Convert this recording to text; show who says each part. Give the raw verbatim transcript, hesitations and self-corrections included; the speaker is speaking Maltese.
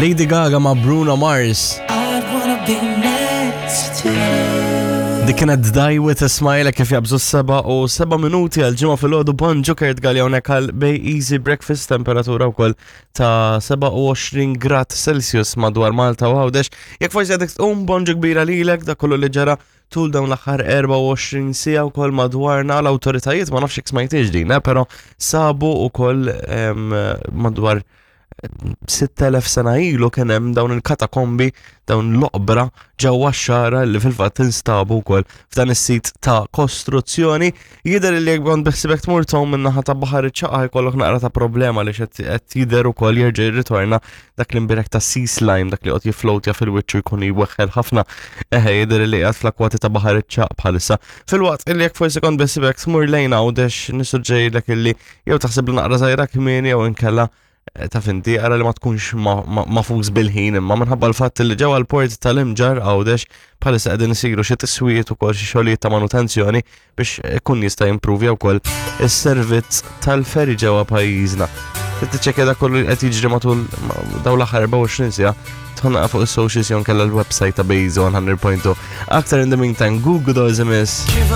Speaker 1: Lady Gaga ma' Bruno Mars.
Speaker 2: I'd wanna be next to you.
Speaker 1: Dik kienet Die With a Smile kif jabżu seba u seba minuti għal ġimgħa filgħodu. Bonġu, Kurt Galea hawnhekk għal Bay Easy Breakfast, temperatura wkoll ta' sebgħa u għoxrin grad Celsius madwar Malta u Għawdex. Jekk forsi għadek tqum, bonġu kbira lilek. Dak kollu li ġara tul dawn l-aħħar erbgħa u għoxrin siegħa wkoll madwarna, l-awtoritajiet, ma nafx jekk smajtix din, eh, però sabu wkoll em, madwar sitt elef sena ilu kien hemm dawn il-katakombi, dawn l-oqbra ġewwa x-Xagħra li fil-fatt instabu wkoll f'dan is-sit ta' kostruzzjoni. Jidher li jekk kont beħsibek tmur tgħum min-naħa ta' Baħar iċ-Ċagħaq, jkollok naqra ta' problema li qed qed jidher ukoll jerġa' jirritorna dak l-imbirek ta' sea slime, dak li qed jiflowtja fil-wiċċ u jkun jweħħel ħafna. Eħe, jidher li qiegħed fl-akwati ta' Baħar iċ-Ċagħaq bħalissa. Filwaqt illi jekk forsi kont beħsibek tmur lejn Għawdex, nissuġġerilek illi jew taħseb li naqra żgħira kmieni jew inkella eh, ta' finti ara li ma tkunx ma- ma- mafuż bil-ħin, imma minħabba l-fatt li ġewwa l-port tal-Imġarr Għawdex bħalissa qegħdin isiru xi tiswijiet ukoll xi xogħlijiet ta' manutenzjoni biex ikun jista' jimprovja wkoll is-servizz tal-ferry ġewwa pajjiżna. Trid tiċċekkja dak kollu li qed jiġri matul ma- dawn l-aħħar erbgħa u għoxrin siegħa, tħonna fuq is-socials jew nkella l-website ta' Base one hundred point two. Aktar in the meantime, Google Dolls imiss.
Speaker 2: Give